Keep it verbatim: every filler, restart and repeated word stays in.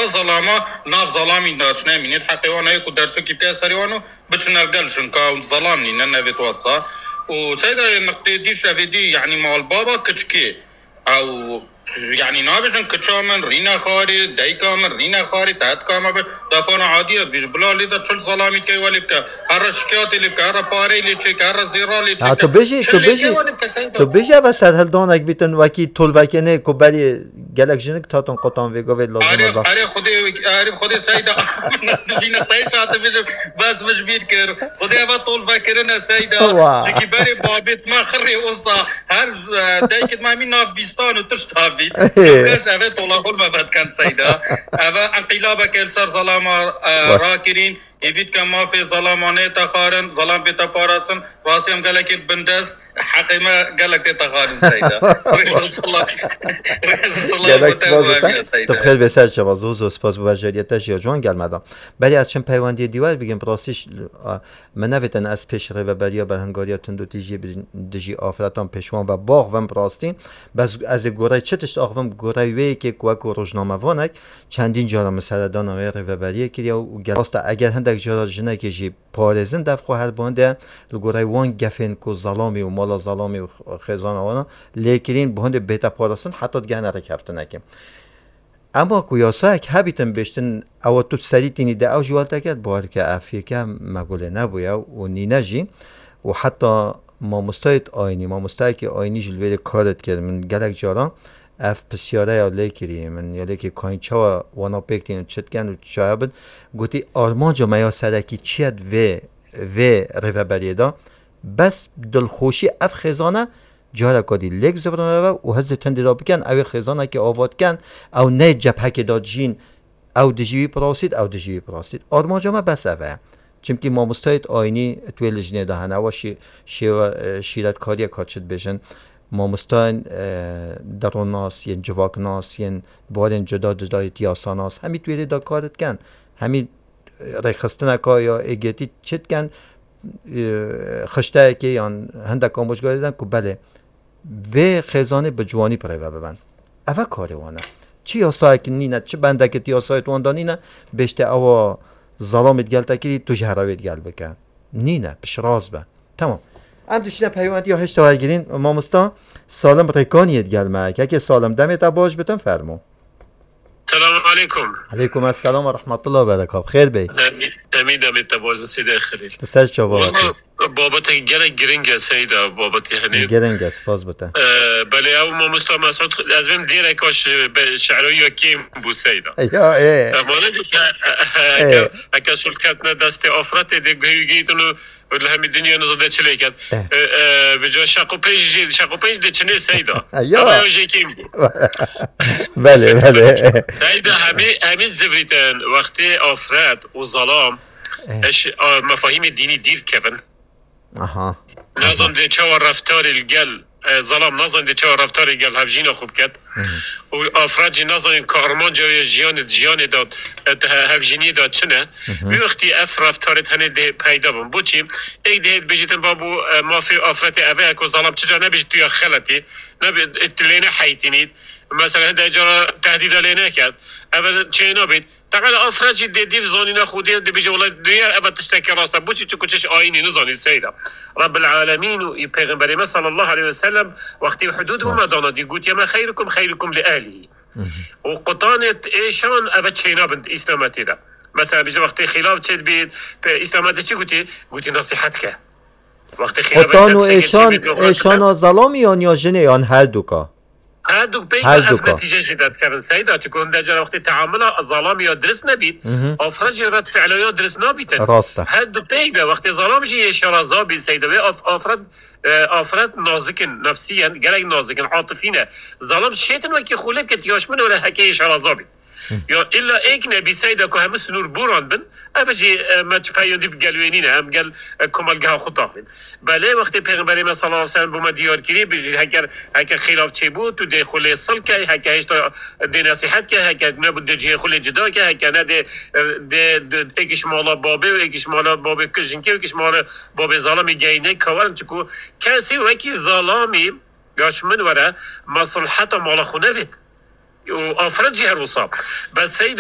Zelama nav zelamî daş nemînît. Heqê wan heye ku dersokî bike serê wan û biçine li gel jinka û zelam nîne nevêt wesa. Û seyda yê niqtê dî şevê dî, yanî mal baba kiçikê. Ew, yanî nabêjin kiça min rîne xarê, dayika min rîne xarê, tehdika me be, defana adî ye, dibêjin bila lê de çil zelamî key welê bike. Here şikayetê lê bike, here parey lê çêke, here zêra lê çêke. Ha, tu bêjî, Çil tu lê bêjî, key welê bike seyda. Tu bêjî ev serhildanek bîtin wekî tolvekenê ku berî gelek jinik tatin qotan vê govê lazim Erê, erê Xwedê, erê Xwedê seyda. Dibîne teyşa dibêjim, bes min ji bîr kir. Xwedê eva tol vekirine seyda. Wa. Çikî berê babêt me xirê osa. Her, e, dayikêt me hemî nav bîstan û tişta bî. Kes eve tola xwe me vedken seyda. Eve enqîlabeke li ser zelama, e, Baş. rakirîn. Êvî dike mafê zelama neyte xarin, zelam bête parastin. Rastî em gelekê bindest. Heqê me gelek tête xarin seyda. Rêz û silav. Rêz û silav Gelek bo te spas û bo te. Hemiya seyda. Tu bi xêr bê ser çava. Zû zû spas bo beceriyê te jî ya ciwan gel me da. Berî ez çim peywendiyê dîwar bigim, bi rastî ş-, a, min nevêtin ez pêş rêveberiya berhingariya tundûtîjiyê bi dijî afretan pêşwan ve baxvim bi rastî. Bes ez ê gorey çi tişt axivim, gorey wê yekê ku wekû rojnamevanek çendîn cara min seredana wê rêveberiyê kiriye û gel rast e, eger hindek cara jinekê jî parêzin, dev xwe her bande li gorey wan gefên ku zelamî û mala zelamî û xêzana wana lê kirîn, bi hindê bête parastin heta digehne rêkeftinekê. Ema ku yasayek hebîtin bêştin, ewa tu serî tînî de ew jî welteket, bawer ke ev yeke me gulê nebûye û nîne jî. Û heta mamostayê ayînî, mamostayekî ayînî jî li wêrê kar dikir. Min gelek caran ev pisyareya lê kirî. Min ya lê kirî kayîn çawa wana pêk tînin, çi dikin û çaya bin. Gotî, armanca me ya serekî çi ye di vê, vê rêveberiyê de? Bes dilxweşî ev xêzane careka dî lêk zivirine ve û hizê tundê de bikin, ew ê xêzanekê ava dikin, ew ne cephekê de dijîn, ew dijî wî pirasît, ew dijî wî pirasît. Armanca me bes ev e. Çimkî mamostayê ayînî tu wê lijnê de hene, ewa şî-, şêwe, e, şîretkariyek ka çi dibêjin, mamostayên, e, deronnas, yên civaknas, yên barên cuda cuda yê tiyasanas, hemî tu wê lê de kar dikin. Hemî, e, rêxistineka ya êgêtî çi dikin, e, xişteyekê yan hindek amûjgarê didin ku belê, vê xêzanê bi ciwanî bi rêve bibin. Ev e karê wan e. Çi yasayek nîne, çi bendeke di yasayê wan de nîne, bêjte ewa zelamê digel te kirî, tu jî here wê digel bike. Nîne, piştrast be. Tamam. Em dişine peywendiya hêşta wergirîn, mamosta Salim Rêkaniyê digel me. Kekê Salim, demê te baş bitin, fermo. Selamun aleykum. Aleykum esselam ve rahmetullah ve berekat. Xêr bey. Demî, demî demê te baş, Seyda Xelîl. Di ser çava Wala, babetek gelek giring e Seyda, babetî henî. Giring e, spas bi te. Ee, belê ew mamosta Mesûd, ez bêm dêreka şi-, be-, şe'royî ya kêm bû Seyda. Ya, ê. Em ane bû ke, Ê. ke, eke şûl ketine destê afretê dê guhê wî gihîtin û û li hemî dinya niza de çi lê ket. Eh. E, e, vêca şeq û pênc jî, şeq û pênc de çinê Seyda. Ya. Ama ya jê kêm bû. Belê, belê. Seyda hemî, hemî zivrîtin wextê afret û zalam Eh. eş, a, mefahîmê dînî dîr kevin. Aha. Nazan dê çawa reftarê li gel, e, zalam nazan dê çawa reftarê gel hevjîna xwe biket. Hı hı. Û afret jî nazanin ka armanca wê jiyanê, jiyanê de, e, he-, hevjîniyê de çi ne? Hı hı. Wî wextî ev reftarê tenê dê peyda bin. Boçî? Êk dê hêt bêjîtin, babû, e, mafê afretê ev e, ku zalam çica nebêjî tu ya xeletî, nebe, e, tu lê neheytînît. Mesela hinde cara tehdîda lê neket. Ev çê nabît. Teqala afret jî dê dîv zanîna Xwedê dibêje, wela dinya ev tiştekî rast e. Boçî? Çiku çiş ayînî nizanî Seyda. Rabbil Alemîn û Pêxemberê me sallallahu aleyhi ve sellem wextî hudûd bû me dana dî, gotiye me, "Xeyrukum xeyrukum li ehlihî." Hı hı. Û qutanê êşan eve çêna bin Îslametê de. Mesela, bêje wextê xîlaf çêdibît, pe-, Îslametê çi gotî? Gotî, "Nasihet ke." Wextê xîlaf Qutan û çêdibît, êşan, êşana zelamî yan ya jinê yan her duka? Her du peyv Her ev duka. netîce jî derdikevin Seyda, çiku hinde cara wextê teamula zalamî ya dirist nebît, Hı hı. afra jî red fi'la ya dirist nabîtin. Rast e. Her du peyv e, wextê zalam jî yê şeraza bî Seyda, wê af-, afret, e, afret nazikin, nefsiyen, gelek nazikin, atifî ne. Zalam şêtin wekî xulê biket, yaş min were heke yê şeraza bî. Hı. Ya illa êk nebî Seyda ku hemû sinûr boran bin, ev jî, e, me çi peyondî bi gel wê nîne, em gel, e, komelgeha xwe taxivîn. Belê, wextê Pêxemberê me sallallahu aleyhi ve sellem bo me diyar kirî, bi jî heker, heke xîlaf çêbû, tu dê xwe lê sil key, heke hêşta dê nesîhet ke, heke nebû dê cihê xwe lê cida ke, heke ne dê, dê, dê êkiş mala babê û êkiş mala babê jinkê û êkiş mala babê zalamî geyîne kawarin, çiku kesî wekî zalamî gaş min were, mesliheta mala xwe nevêt. Û afret jî her wisa. Bes Seyda